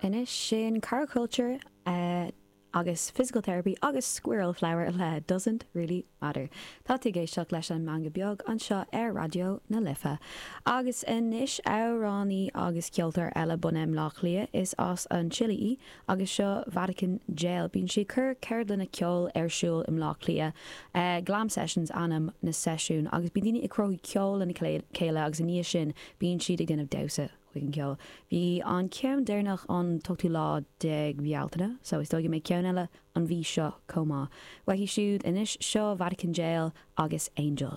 Anois sin Caraculture agus Physical Therapy agus Squirrel Flower le Doesn't Really Matter. Tá tú ag éisteacht leis an Meangadh Beag anseo ar Raidió na Life. Agus anois amhránaí agus ceoltóir eile bunaithe i mBleá Cliath, is as an tSile í agus seo Vatican Jail. Bíonn sí ag cur ceardlanna ceoil ar siúl i mBleá Cliath. Glam Sessions ainm na seisiún agus bíonn daoine ag cruthú ceol lena chéile agus i ndiaidh sin bíonn siad ag déanamh damhsa chuig an gceol. Bhí an ceann deireanach an t-ochtú lá déag Bealtaine so is dóigh go mbeidh ceann eile an mhí seo chomh maith. Uaithi siúd anois, seo Vatican Jail agus Angel.